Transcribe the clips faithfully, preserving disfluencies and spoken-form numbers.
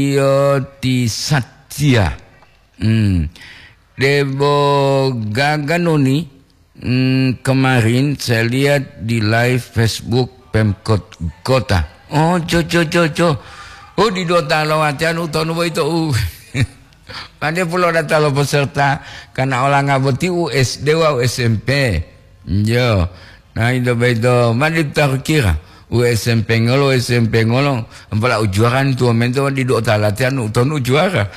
Iyo ti Satya. Hmm. Debo gaga noni, hmm, kemarin saya lihat di live Facebook Pemkot Kota. Oh, jo, jo, jo, jo. Oh, di dota lo watian utonu boyito, uh. Pande pulo data lo peserta, karena olanga boti U S D wawu S M P. Yo. Nah, ito boyito, mani ta kira, U S M P ngolo, S M P ngolo, ampala ujuara ni tuwa mento di dota latihan utonu ujuara.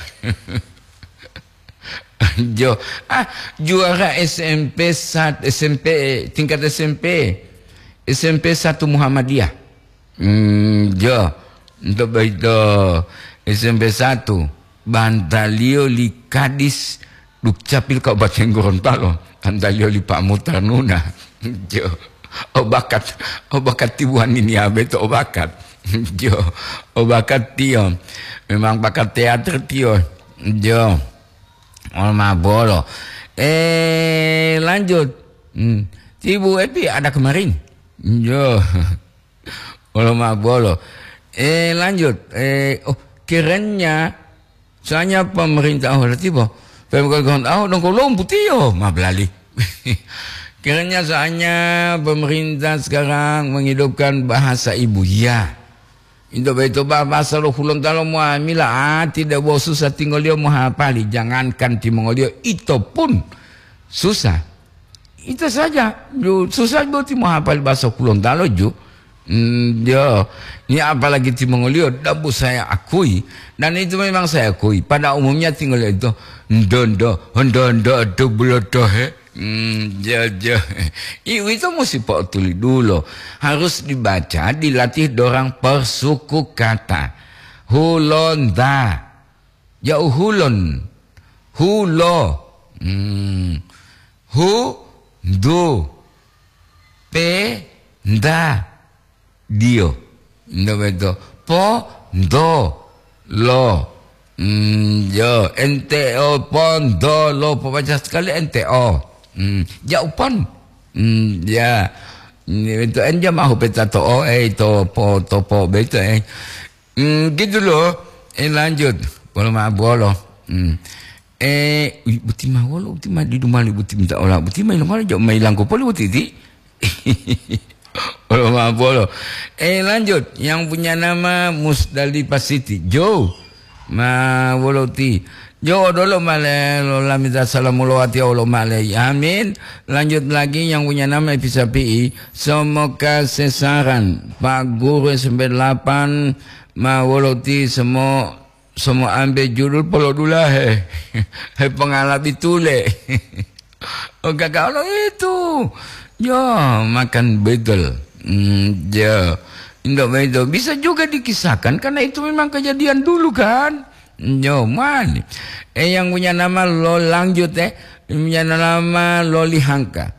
Jo, ah, juara S M P sat-, S M P, tingkat S M P. S M P satu Muhammadiyah. Hmm, jo, untuk boyito S M P satu, bantaliyo li Kadis Dukcapil Kabupaten Gorontalo, bantaliyo li Pak Mutarnuna. Jo, obakat, obakat tibuan ini abe to obakat. Jo, obakat tiyo. Memang bakat teater tiyo. Jo. Olo ma bolo. Eh, lanjut. Hmm. Ti Bu Epi ada kemarin. Yo. Olo ma bolo. Eh, lanjut. Eh, oh, kerennya soalnya pemerintah, oh, tiba. Pemkot Gorontalo, oh, dongko lompu tiyo, ma belali. Kerennya soalnya pemerintah sekarang menghidupkan bahasa ibu. Ya. Into boyito ba-, basa lo Hulontalo muamila, ah, tidak bo susah tingoliyo mohapali, jangankan timongoliyo, ito pun susah. Ito saja, ju-, susah boti mohapali basa Hulontalo ju. Hmm, yo. Ini apalagi timongoliyo, dabu saya akui. Dan itu memang saya akui. Pada umumnya tingoliyo itu, ndo, ndo, ndo, ndo, ndo, bulotohe. Hmm, jo, jo. Iwito musi po'otulidulo. Harus dibaca, dilatih dorang persuku kata. Hulonda. Ja'u hulon. Hulo. Hmm. Hu, ndu. Pe, nda. Dio. Ndo beto. Po, ndo, lo. Mm, yo, N T O, pondo, lo, pobaca sekali N T O. Mm, ja'u pon. Mm, ya. Ini beto, en jamahu peta to o, eh, to po, to po, beto, eh. Mm, gitu loh. Eh, lanjut. Bolo ma bolo. Mm. Eh, ui, buti ma wolo, buti ma didu mali, buti minta ola, buti ma ilomalo, ja'u ma ilangko poli, buti ti. Olo ma bolo. Eh, lanjut. Yang punya nama Musdalifah Siti. Jo. Ma wolo ti. Jo, odolo male lo lamita salamu lo wati olo male. Amin. Lanjut lagi yang punya nama Epi Sapi'i. Somo kasesaran. Pak Guru S M P delapan. Ma wolo ti semo Somo ambe judul polodulahe. He pongalabi tule. Oh, gaga olo itu. Yo, makan betel. Hmm, yo. Indo begitu. Bisa juga dikisahkan karena itu memang kejadian dulu kan. Yo, mani. Eh, yang punya nama lo lanjut, eh. Punya nama lo lihangka.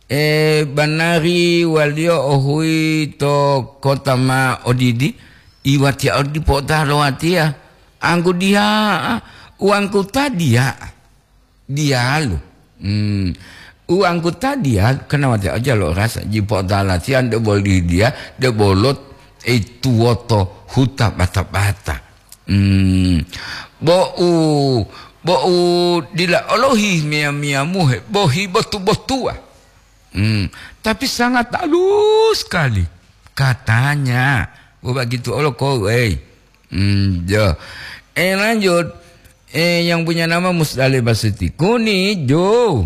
Eh, banari waliyo ohuyi to kota ma odidi, iwatiya odi po'otaha lo watiya. Anggu diya'a, uwangku ta diya'a. Diyalu. Hmm. Uwangku ta diyalu, kena watiya oja lo rasa, ji po'otaha latiya de boli diya, de bolot, eh, tuwoto huta bata-bata. Hmm. Bo'u, bo'u dila olohi miya-miyamuhe, bohi botu-botuwa. Hmm, tapi sangat halus sekali katanya. Oh, begitu olo kau, eh. Hmm, ya. Eh, lanjut. Eh, yang punya nama Musdalifah Siti. Kuni, Jo.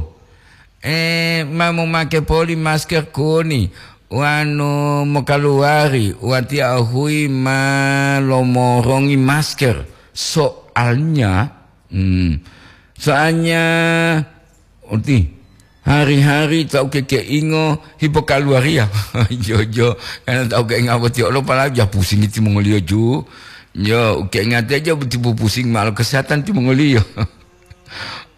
Eh, ma momake poli masker kuni. Wanu mokaluwari, watiya ohuyi ma lomorongi masker. Soalnya, hmm, soalnya Uti, hari-hari ta ukekeingo hipokaluwariya. Jo, jo, karena ta ukeinga boti olo pala ja pusingi timongoliyo ju. Jo, ukeinga teja boti pupusing malo kesehatan timongoliyo.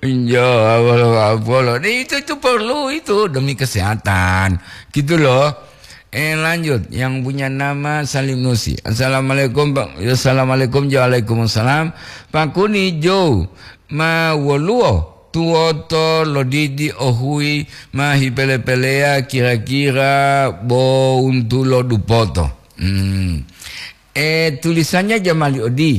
Jo, abolo, abolo. Nah, itu, itu perlu itu demi kesehatan. Gitu loh. Eh, lanjut. Yang punya nama Salim Nusi. Assalamualaikum, Pak. Ya, assalamualaikum. Ya, waalaikumsalam. Pak Kuni, Jo. Ma woluwo tuwoto lodidi ohuyi ma hipele-peleya kira-kira bo wuntulo dupoto. Hmm. E, tulisannya jamali odi.